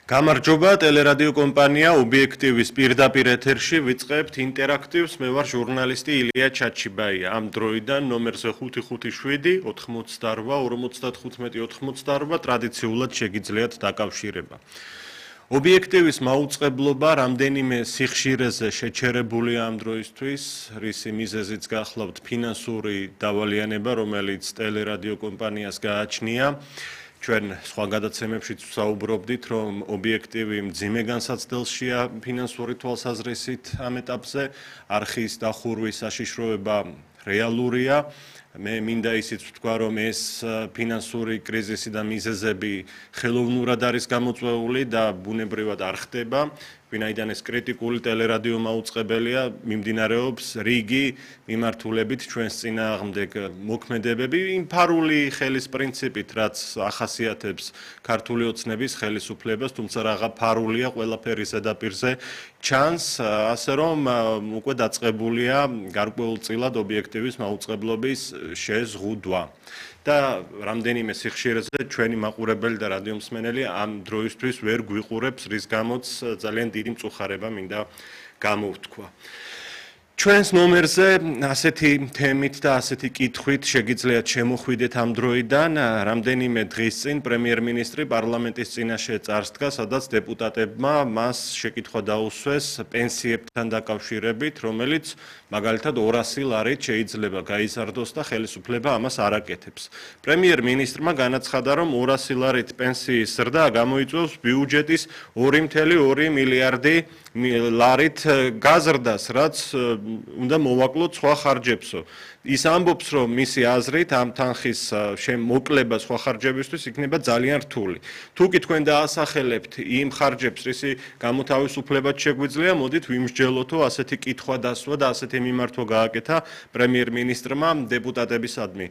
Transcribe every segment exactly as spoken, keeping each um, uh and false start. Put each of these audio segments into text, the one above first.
გამარჯობა, ტელერადიო კომპანია ობიექტივის პირდაპირ ეთერში ვიწყებთ ინტერაქტივს. მე ვარ ჟურნალისტი ილია ჩაჩიბაია. ამ დროიდან ნომერზე ხუთი ხუთი შვიდი ოთხმოცდარვა ორმოცდათხუთმეტი ოცმოცდარვა ტრადიციულად შეგიძლიათ დაკავშირება. ობიექტივის მაუწყებლობა რამდენიმე სიხშირეზე შეჩერებულია ამ დროისთვის, რისი მიზეზიც გახლავთ ფინანსური დავალიანება, რომელიც ტელერადიო კომპანიას გააჩნია. ჩვენ სხვა გადაცემებშიც ვსაუბრობდით, რომ ობიექტივი მძიმე განსაცდელშია ფინანსური თვალსაზრისით ამ ეტაპზე, არხის დახურვის საშიშროება რეალურია. მე მინდა ისიც ვთქვა, რომ ეს ფინანსური კრიზისი და მიზეზები ხელოვნურად არის გამოწვეული და ბუნებრივად არ ხდება. ვინაიდან ეს კრიტიკული ტელერადიო მაუწყებელია, მიმდინარეობს რიგი მიმართულებით ჩვენს წინააღმდეგ მოქმედებები, იმ ფარული ხელის პრინციპით, რაც ახასიათებს ქართული ოცნების ხელისუფლებას, თუმცა რაღა ფარულია ყველაფერი ზედაპირზე ჩანს, ასე რომ უკვე დაწყებულია გარკვეულწილად ობიექტივის მაუწყებლობის შეზღუდვა. და რამდენიმე სიხშირეზე ჩვენი მაყურებელი და რადიომსმენელი ამ დროისთვის ვერ გვიყურებს, რის გამოც ძალიან დიდი მწუხარება მინდა გამოვთქვა. ჩვენს ნომერზე ასეთი თემით და ასეთი კითხვით შეგიძლიათ შემოხვიდეთ ამ დროიდან. რამდენიმე დღის წინ პრემიერ-მინისტრი პარლამენტის წინაშე წარსდგა, სადაც დეპუტატებმა მას შეკითხვა დაუსვეს პენსიებთან დაკავშირებით, რომელიც მაგალითად ორასი ლარით შეიძლება გაიზარდოს და ხელისუფლება ამას არ აკეთებს. პრემიერ-მინისტრმა განაცხადა, რომ ორასი ლარით პენსიის ზრდა გამოიწვევს ბიუჯეტის ორი წუთი ორი მილიარდი ლარით გაზრდას, რაც უნდა მოვაკლოთ სხვა ხარჯებსო. ის ამბობს, რომ მისი აზრით ამ თანხის შემოკლება სხვა ხარჯებისთვის იქნება ძალიან რთული. თუ კი თქვენ დაასახელებთ იმ ხარჯებს, რისი გამოთავისუფლებაც შეგვიძლია, მოდით ვიმსჯელოთო ასეთი კითხვა დასვა და ასეთი მიმართვა გააკეთა პრემიერ-მინისტრმა დეპუტატებისადმი.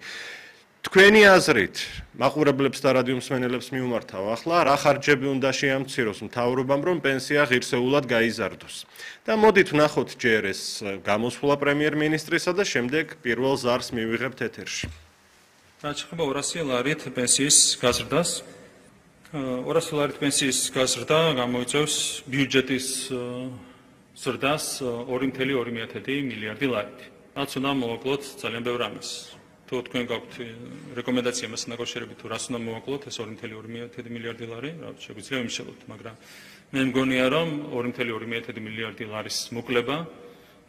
თქვენი აზრით, მაყურებლებს და რადიომსმენელებს მიუმართავ ახლა, რა ხარჯები უნდა შეამციროს მთავრობამ, რომ პენსია ღირსეულად გაიზარდოს. და მოდით ვნახოთ ჯერ ეს გამოსვლა პრემიერ-მინისტრისა და შემდეგ პირველ ზარს მივიღებთ ეთერში. რაც შეეხება ორასი ლარით პენსიის გაზრდას, ორასი ლარით პენსიის გაზრდა გამოიწვევს ბიუჯეტის ზრდას ორი წუთი ორი მილიარდი ლარით. რაც უნდა მოვაკლოთ ძალიან ბევრ ამას. თუ თქვენ გაქვთ რეკომენდაცია მასთან დაკავშირებით, თუ რას უნდა მოვაკლოთ ეს ორი წუთი ორი მილიარდი ლარი, რა შეგვიძლია ვიმშელოთ, მაგრამ მე მგონია, რომ ორი წუთი ორი მილიარდი ლარის მოკლება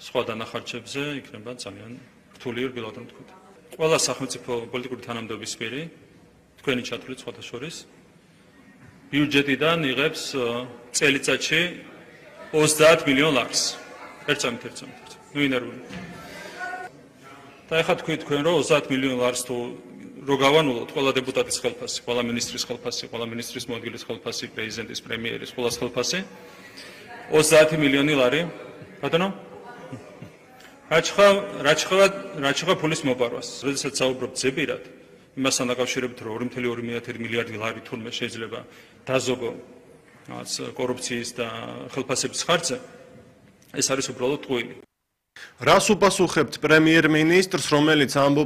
სხვა დანახარჯებზე იქნება ძალიან რთული, რბილად რომ თქვით. ყველა სახელმწიფო პოლიტიკური თანამდებობის პირი, თქვენი ჩათვლით სხვათა შორის, ბიუჯეტიდან იღებს წელიწადში ოცდაათ მილიონ ლარს. ერთ წამით, ერთ წამით. ნუ ინერვული. და ეხლა თქვით თქვენ, რომ ოცდაათ მილიონ ლარს თუ რო გავანულოთ ყველა დეპუტატის ხელფასი, ყველა მინისტრის ხელფასი, ყველა მინისტრის მოადგილის ხელფასი, პრეზიდენტის, პრემიერის, ყველას ხელფასი, ოცდაათი მილიონი ლარი, ბატონო? რაც შეეხება ფულის მოპარვას, როდესაც საუბრობთ ზეპირად, იმასთან დაკავშირებით, რომ ორი წუთი ორი მილიარდი ლარი თურმე შეიძლება დაზოგო კორუფციის და ხელფასების ხარჯზე, ეს არის უბრალოდ ტყუილი. რას უპასუხებთ პრემიერ-მინისტრს, რომელიც ამბობს,